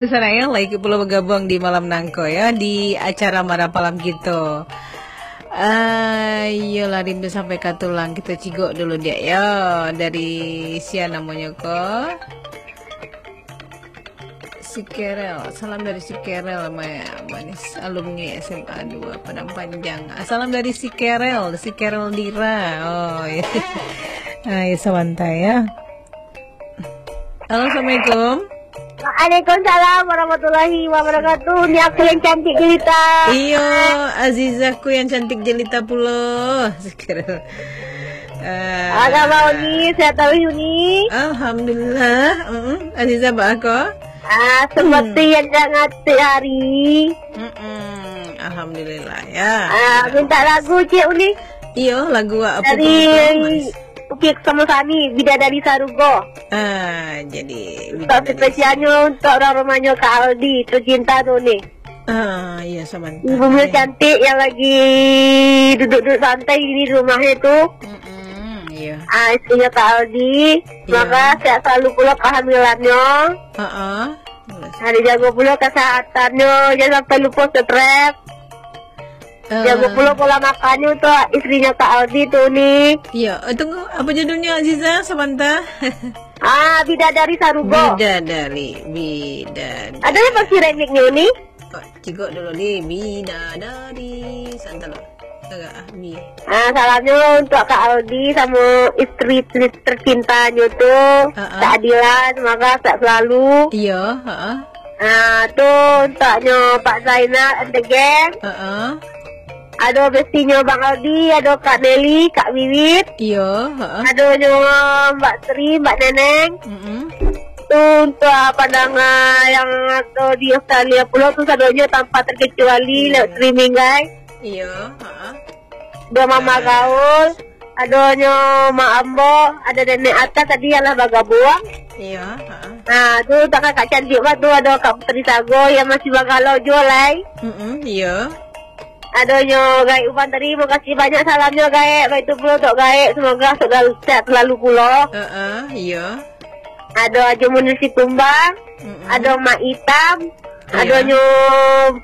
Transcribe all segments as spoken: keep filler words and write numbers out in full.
Sanak, ya, lagi pulo bagabuang di malam nangko, ya, di acara Marapalam kito. Ah, iyolah, rindu sampai ka tulang. Kito cigok dulu, diak, ya, dari sia namonyo ko. Si Kerel. Salam dari si Kerel, ma-, manis alumni S M A dua Padang Panjang. Ah, salam dari si Kerel, si Kerel Dira. Oh, ya. Ah, ya, sabanta, ya. Halo, assalamualaikum. Waalaikumsalam warahmatullahi wabarakatuh. Ni aku yang cantik jelita. Iyo, Azizahku yang cantik jelita pulo. Ah, kabar Uni, sehat taruih Uni. Alhamdulillah. Mm-mm. Azizah, baa ko? Ah, seperti yang dah ngatik hari. Mm-mm. Alhamdulillah, ya. Ah, minta lagu, Cik Uni. Iyo, lagu apa tu? Dari Uki Sama Sami, Bidadari Sarugo. Ah, jadi Untuk Bidadari spesialnyo, untuk orang rumahnyo Kak Aldi, tercinta tu ni. Ah, iya, sabanta. Ibu Mil cantik yang lagi duduk-duduk santai di rumahnyo tu. Mm-mm, iya. Ah, istrinyo Kak Aldi. Iya. Semoga sehat selalu pulo kehamilannya. Heeh. Nah, dijago pulo kesehatannya, jangan sampai lupa stres. Eh. Jago pulo pola makannya untuk istrinyo Kak Aldi tu ni. Iya, eh, tunggu, apa judulnya, Aziza? Sabanta. Ah, Bidadari Sarugo. Bidadari, Bidadari. Ada yang masih remixnya ni? Oh, cigok dulu ni, Bidadari. Santai lah. Agak, ah, Bi. Ah, salamnyo untuk Kak Aldi samo istri ter-, tercintanyo tu, Heeh. Kak Adila, semoga sehat selalu. Iya, heeh. Ah, tu untuknyo Pak Zainal and the gang. Heeh. Ado bestinyo Bang Aldi, ado Kak Nelly, Kak Wiwit. Iya, heeh. Adonyo Mbak Sri, Mbak Neneng. Mm-mm. Tu untuk pandanga yang ado di Australia pulo tu sadonyo tanpa terkecuali Iya. lewat streaming, guys. Iyo, heeh. Ado Mama Gaul, adonyo Mak Ambo, ado Nenek Atas tadi yang lah bagabuang. Iyo, heeh. Nah, tu tak kakak cantik bah tu, ado Kak Putri Sago yang masih bagalau juo lai. Mm-mm, iyo. Adonyo Gaek Uban tadi, makasih banyak salamnyo Gaek. Baitu pulo untuk Gaek, semoga selalu sehat selalu pulo. Heeh, iyo. Ado Ajo Munir Sikumbang, Mm-mm. ado Mak Itam, Iyo. adonyo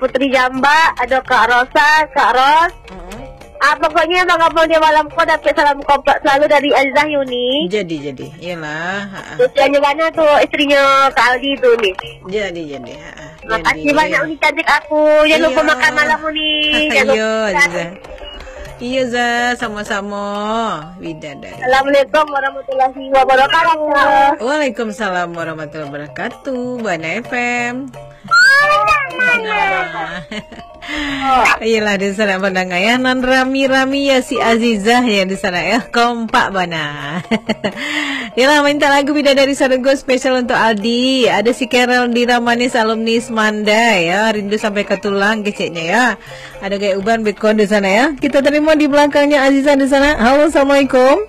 Putri Jambak, ado Kak Rosa, Kak Ros. Mm-mm. Ah, pokoknyo bagabuang di malam ko dapek salam kompak selalu dari Azizah Yuni. Jadi, jadi. Iyolah, ha-ha. Khususnyo bana tu, istrinyo Kak Aldi tu ni. Jadi, jadi, ha-ha. Makasih Jadi. banyak Uni cantik aku. Jangan lupa Iyo. makan malam Uni. Jangan Iyo, lupa. Azizah. Iyo, Zah, sama-sama. Bidadari. Assalamualaikum warahmatullahi wabarakatuh. Waalaikumsalam warahmatullahi wabarakatuh. Bana F M. Iyolah, di sanak pandanga, ya. Nan rami-rami, ya, si Azizah, ya, di sanak, ya. Kompak bana. Iyolah, minta lagu Bidadari Sarugo spesial untuk Aldi. Ada si Carol Dira Manis, alumni Semandai, ya. Rindu sampai ke tulang, keceknya, ya. Ada Gaek Uban beko di sanak, ya. Kita terima di belakangnya Azizah di sanak. Halo, assalamualaikum.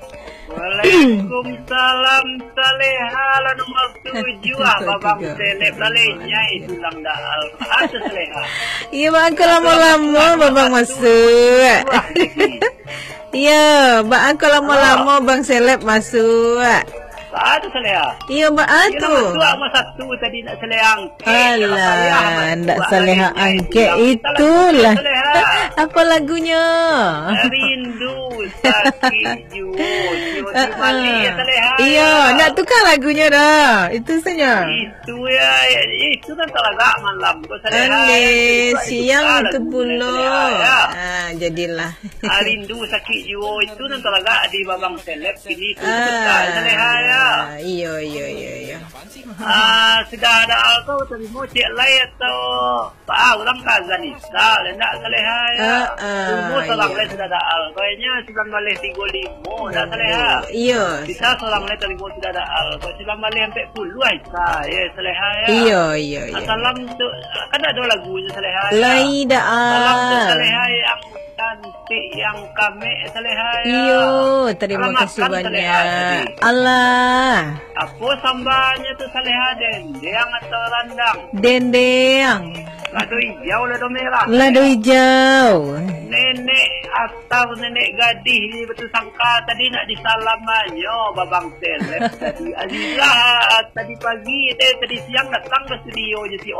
Waalaikumsalam, Saleha lah nomor tujuah, Babang Seleb lah lenyai tulang daal. Ada Saleha. Iya, bang, aku lama-lama Babang masuk. Iya, bang, aku lama-lama Bang Seleb masuk. Ada Saleha. Iya, bang, ah, Iya, tu. Nomor tujuah, nomor satu tadi nak Saleha. Alah, ndak Saleha angkek itulah. Apa lagunya? Rindu sakik juo, juo di malik ya, Saleha. Iyo, ndak tukar lagunyo dah. Itu saja. Itu ya, ya, itu kan talagak malam ko, Saleha. Aleh, siang itu pulo. Ah, jadilah. Ah, rindu sakik juo itu nan talagak di Babang Seleb kini tu, Saleha ya. Iyo, iyo, iyo, iyo. Ah, sudah ada alko tarimo cek lai atau ah, urang ka azan Isya, lah ndak Saleha ya. Ah, ah, Tarimo salam lai sudah ada alko. Kayaknya sembilan baleh tigo limo dah Saleha. Iyo. Kita salam lai tarimo sudah ada alko. Sembilan baleh ampek puluah Isya, ya Saleha ya. Iyo, iyo, iyo. Salam tu, kan ada lagu je Saleha ya. Lai dah. Salam tu Saleha yang cantik, yang kamek Saleha ya. Iyo, terima kasih banyak. Alah. Apa sambalnya tu Saleha, dendeng atau randang? Dendeng. Lado ijau, lado merah. Lado ijau. Nenek asal nenek gadih ni betul sangka tadi nak disalamannyo babang seleb tadi. Azizah tadi pagi, eh, tadi siang datang ke studio je si On.